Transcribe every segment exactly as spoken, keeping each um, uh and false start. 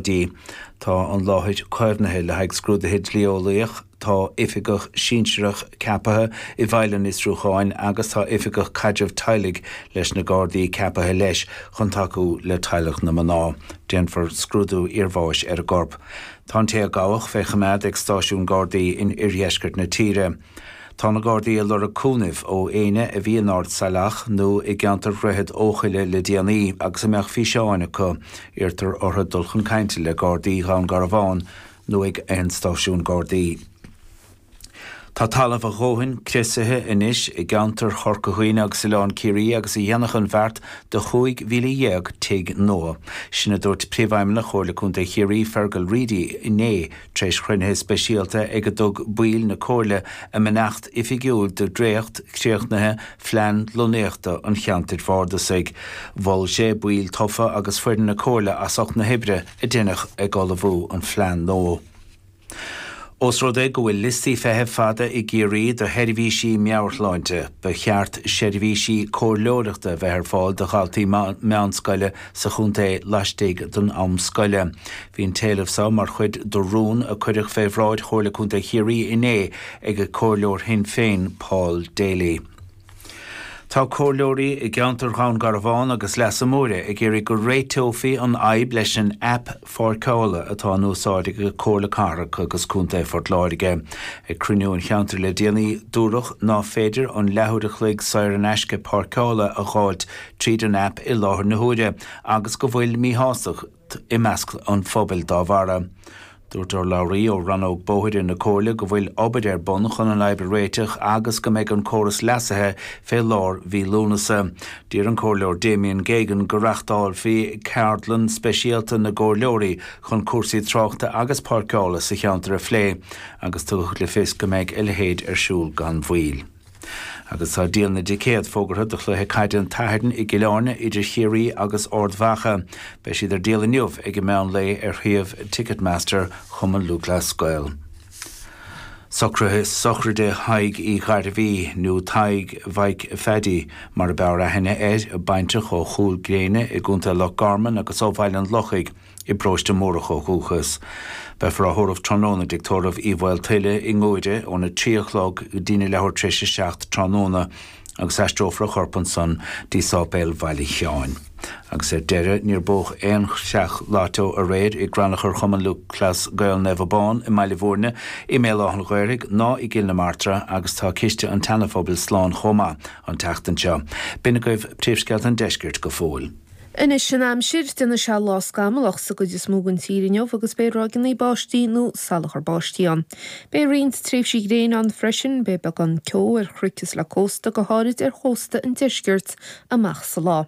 Dí. Tá an láthair caomhnaithe le haghaidh scrúduithe dlí-eolaíoch, tá oifigeach sinsearach ceaptha i bhfeighil an fhiosrúcháin agus tá oifigeach caidrimh teaghlaigh leis na Gardaí ceaptha leis chun tacú le teaghlach na mná. Déanfar scrúdú iarbháis ar an gcorp. Tá an té a gabhadh fé choimeád ag stáisiún Gardaí in oirdheisceart na tíre. Tá na Gardaí ag lorg cúnaimh ó éinne a bhí in Ard Saileach nó i gceantar Dhroichead Eochaille le déanaí agus a mbeadh físeáin acu. Iarrtar orthu dul chun cainte le Gardaí Dhún Garbhán nó ag aon stáisiún Gardaí. Tá talamh a dhóthain criosaithe anois i gceantar Chorca Dhuibhne agus Oileán Ciarraí agus a dhéanfadh an bheart do chúig mhíle dhéag tigh nua. Sin a dúirt Príomhfheidhmeannach Chomhairle Contae Chiarraí, Fergal Reidy, inné tar éis chruinnithe speisialta ag a dtug baill na Comhairle a mbeannacht oifigiúil do dhréacht críochnaithe Phlean Lonnaíochta an Cheantair Bhardasaigh. Mhol sé baill tofa agus foireann na Comhairle as ucht na hoibre a deineadh ag ullmhú an phlean nua. Ós rud é go bhfuil liostaí feithimh fada i gCiarraí do sheirbhísí meabhairshláinte, ba cheart seirbhísí comhairleoireachta a bheith ar fáil do dhaltaí meánscoile sa chontae laistigh den am scoile. Bhí an t-éileamh seo mar chuid de rún a cuireadh fé bhráid Chomhairle Contae Chiarraí inné ag Comhairleoir Shinn Féin Paul Daly. Tá comhairleoirí i gceantar Dhún Garbhán agus Leasa Móire ag iarraidh go réiteofaí an fhadhb leis an aip pháirceála atá in úsáid ag Comhairle Cathrach agus Contae Phort Láirge. Ag cruinniú an cheantair le déanaí, dúradh ná féidir an leathuair a chloig saor in aisce páirceála a dh'fháilt tríd an aip i láthair na huaire agus go bhfuil míshástacht i measc an phobail dá bharra. Dúirt urlabhraí ó rannóg bóithre na Comhairle go bhfuil obair ar bun chun an fhadhb a réiteach agus go mbeidh an córas leasaithe fé lár mhí Lúnasa. D'iarr an Comhairleoir Damien Geoghegan go reáchtálfaí ceardlann speisialta na gcomhairleoirí chun cúrsaí tráchta agus páirceála sa cheantar a phlé agus tugadh le fios go mbeidh a leithéid ar siúl gan mhoill. Agus tá díol na dticéad fógartha do chluiche caide an tSathairn i gCill Airne idir Chiarraí agus Ard Mhacha. Beidh siad ar díol inniu ag an meán lae ar shuíomh Ticketmaster Chumann Lúthchleas Gael. Socruithe sochraide Thaidhg Uí Ghairbhí, nó Tadhg Mhaidhc Pheaidí mar a b'fhearr aithne air, baintreach ó Chúil Gréine i gContae Loch Garman agus ó Bhaile an Lochaigh i bparóiste Mórdhach ó dhúchas. Beifear á thórramh tráthnóna i dTigh Tórraimh Uí Mhaoltuile i nGuaire óna trí a chlog go dtína leathuair tar éis a seacht tráthnóna agus aistreofar a chorp ansan dtí Sáipéal Bhaile Sheáin. Agus ar deireadh, níor buadh aon chreach lotto aréir i gCrannchur Chumann Lúthchleas Gael Naomh Abán i mBaile Bhúirne, i mBéal Átha an Ghaorthaidh ná i gCill na Martra agus tá ciste an tSeana-Phobail slán chomh maith an tseachtain seo. B'in agaibh príomhscéalta an deiscirt go fóill. Anois an aimsir, déanfaidh sé lá scamallach sa gcuid is mó den tír inniu agus beidh ráigeanna báistí nó salachar báistí ann. Beidh roinnt tréimhsí gréine ann freisin, beidh beagán ceo ar chnoic is le cósta, go háirid ar chósta an deiscirt, amach sa lá.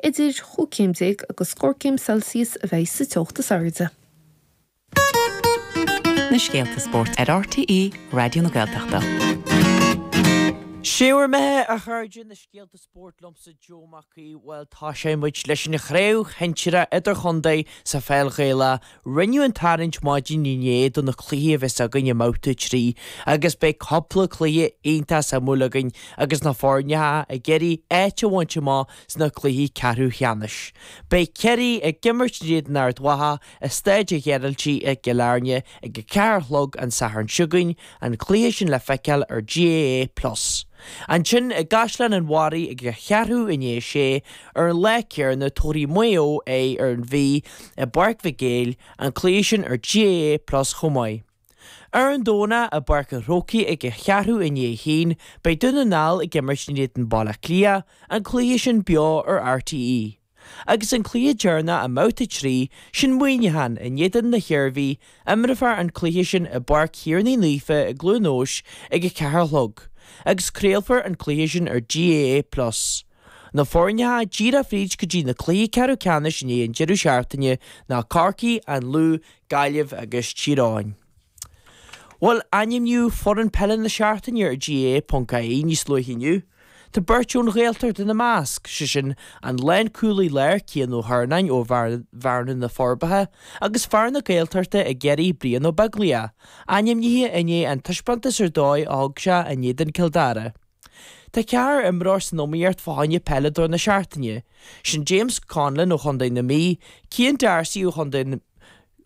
Idir chúig chéim déag agus scór céim Celsius a bheidh sa teocht is airde. Na scéalta spóirt ar R T É Raidió na Gaeltachta. Sé bhur mbeatha, a chairde, na scéalta spóirt liomsa Joe Mac Aoidh. Bhuel, tosóidh muid leis an chraobh shinsearach idirchontae sa pheil Ghaelach. Rinneadh an tarraingt maidin inné do na cluichí a bheas againn i mbabhta trí agus beidh cúpla cluiche iontach suimiúil againn agus na foirne ag iarraidh áit a bhaint amach sna cluichí ceathrú cheannais. Beidh Ciarraí ag imirt in éadan Ard Mhacha i Staid an Ghearaltaigh i gCill Airne ag a ceathair a chlog an Satharn seo chugainn, an cluiche sin le feiceáil ar G A A Plus. Ansin i gCaisleán an Bharraigh ag a cheathrú i ndiaidh a sé ar an lá céanna tabharfaidh Maigh Eo aghaidh ar an Mhí i bPáirc Mhic Éil, an cluiche sin ar G A A Plus chomh maith. Ar an Domhnach i bPáirc an Chrócaigh ag a cheathrú i ndiaidh a haon beidh Dún na nGall ag imirt in éadan Baile Átha Cliath, an cluiche sin beo ar R T É. Agus an cluiche deireanach i mbabhta trí, sin Muineachán in éadan na hIarmhí, imreofar an cluiche sin i bPáirc Thiarnaigh Naofa i gCluain Eois ag a ceathair a chlog, agus craolfar an cluiche sin ar G A A Plus. Na foirne díreach fríd go dtí na cluichí ceathrú ceannais i ndiaidh an deireadh seachtaine ná Corcaigh, an Lú, Gaillimh agus Tír Eoghain. Bhuel, ainmníodh foireann peile na seachtaine ar G A A ponc I E níos luaithe inniu. Tá beirt ón Ghaeltacht ina measc, sé sin an lánchúlaí láir Cian Ó hEarnáin ó Bhearna na Forbacha agus fear na Gaeltachta i gCiarraí Brian Ó Beaglaoich, ainmnithe i ndiaidh an taispeántas ar dóigh a thug sé in éadan Cill Dara. Tá ceathrar imreoir san iomaíocht fá choinne peileadóir na seachtaine, sin James Conlon ó Chontae na Mí, Cian D'Arcy ó Chontae